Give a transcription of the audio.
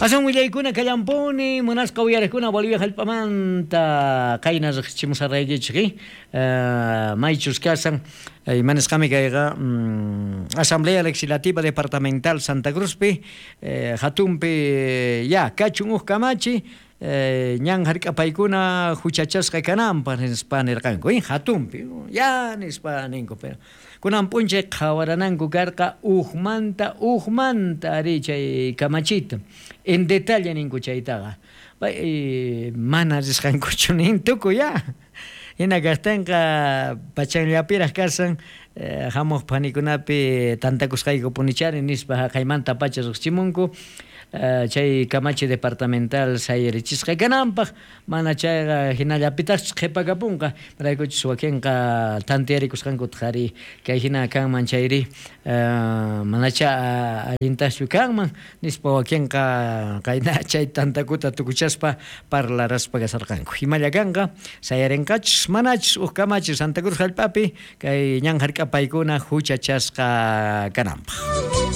Asan willaykuna kallampuni munasqa uyariqkuna Bolivia hallp'amanta qayna riqsichimusarqaykichik, maychus kasan imanisqami kayqa Asamblea Legislativa Departamental Santa Cruzpi hatunpi ya kachun huk kamachi ñan hark'apaykuna huchachasqa kananpaq nispa nirqanku, hatunpi ya nispa ninku, pero kunan p'unchay qhawarananku karqa ujmanta ujmanta ari chay kamachita en detalle ninku chaytaqa pay mana risqankuchu nin tukuy ya hina kaqtinqa pachanllapiraq kasan hamuq phanikunapi tantakusqayku punichari nispa haqaymanta pacha riqsichimunku chay kamachi departamental sayarichisqa kananpaq mana chayqa hinallapitaqchus qhipakapunqa imaraykuchus wakinqa tantiyarikusqankutaq ari kay hina kanman chayri manacha allintaqchu kanman nispa wakinqa qayna chay tantakuta tukuchaspa parlaraspa kasarqanku imalla kanqa sayarinqachus manachus huk kamachi Santa Cruz hallp'api kay ñan hark'apaykuna huchachasqa kananpaq.